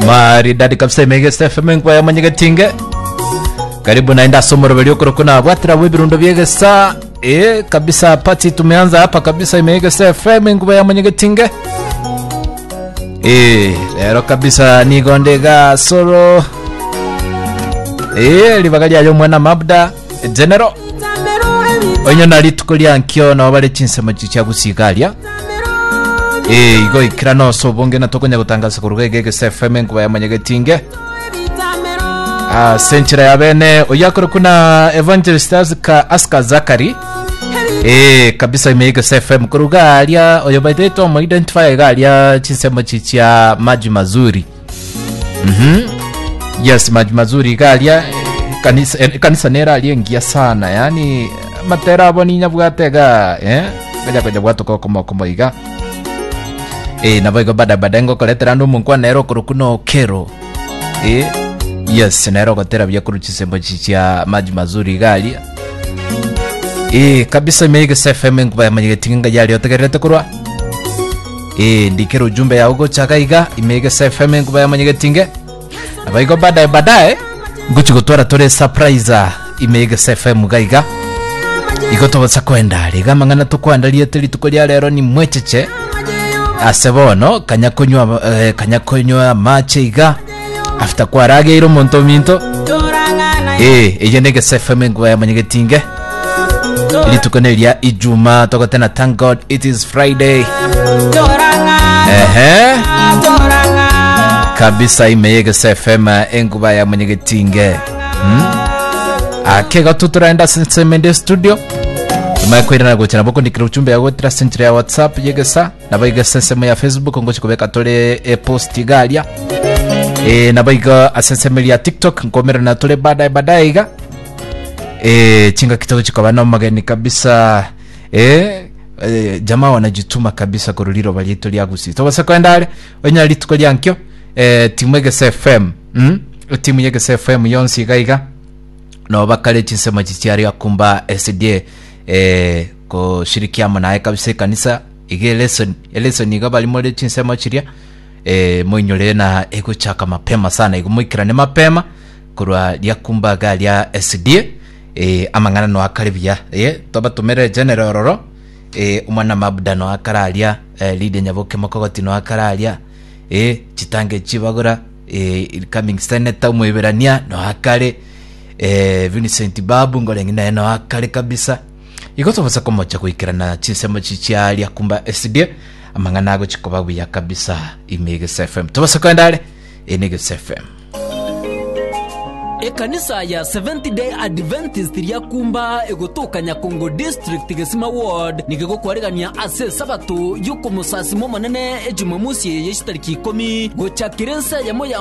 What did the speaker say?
Maridadi kabisa imegesa FM nkwa ya manyegetinge. Karibu naenda ase omoroberi okorokwa na bwatira bwa ebirundo biegesa eh kabisa party tumeanza hapa kabisa imegesa FM nguba ya manyegetinge. Eh lero kabisa nigo ndega solo eh ribaga riayo omwana mabda general onye na rituko ria nkio nabo bare chinsemo chia gusiga aria Eh, igo ikira nose obonge na tokonya gotangasa koruga iga egese FM enkuba ya manyegetinge ase enchera ya bene oyo akore kuna evangelist Aska, Aska Zakari eh kabisa ime egese FM koruga aria oyo by the way tomo identify iga aria chinsemo chichia maji mazuri Mhm. Yes, maji mazuri iga aria kanisa, eh, kanisa nera aria engiya sana yani matera abo ninyabwate iga eh ngoja konya bwatoka okomo iga eh nabo igo bada bada ngokoretera ande omonkwana nere okoroku na okero eh yes nere ogotera buya korwa chisembo chichia maji mazuri iga aria eh kabisa ime egese fm enkuba yamanyegeti ng'a yari otegererete korwa eh ndikere ujumbe yao gochaka iga ime egese fm enkuba yamanyegeti nge nabo igo baadaye baadaye ngochi gotwara tore surprise ime egese fm iga iga igo togosa kwenda are iga amang'ana tokwandariete rituko ria rero ni mwecheche ase bono kanya konywa eh, kanya konywa amache iga after kwarageire omonto ominto eh eye ne Egesa FM enkuba ya manyegetinge rituko neria ijuma togotena thank god it is friday ehe kabisa ime yegesa fm enkuba ya manyegetinge hmm? ake gatu turaenda semende studio imaye kwirana gochera boko ndikira uchumbe yago tira senchira ya whatsapp yegesa nabo iga ase ensemo ya facebook ngochi kobeka tore epost iga aria e, nabo iga ase ensemo ya tiktok nkomerana tore baadaye baadaye iga e, chingaki togochi koba na omogeni kabisa e, e, jamaa wanajituma kabisa korwa riroba riaito ria gusii tobase koenda are onya rituko ria nkio e, timu egese fm mm? etimu ya egese fm yonsi iga iga nabo bakare chinsemo echi chiaria kumba SDA eh, koshirikia amo naye kabisa ekanisa iga elesson elesson iga bari more chinsemo chiria eh, moinyore na egochaka mapema sana igo moikerane mapema korwa riakumba iga ria SDA eh, amang'ana no akare buya eh, tobatomere general ororo eh, omwana mabda no akare aria eh, Lydia Nyaboke mokogoti no akare aria eh, chitange chibagora eh, incoming senator omoiberania no akare eh, Vincent Babu ngoreng'e naye no akare kabisa igo tobosa komocha goikerana chinsemo chichiaria kumba SDA amang'ana agochi koba buya kabisa ime Egesa FM tobasa koenda are ene Egesa FM Ekanisa ya Seventh Day Adventist Riakumba egotoka Nyakongo District Gesima Ward nigo egokwaregania ase esabato y'okomosasima Omonene Ejumamosi eye ye chitariki ikomi gochakera ensa eyemo ya.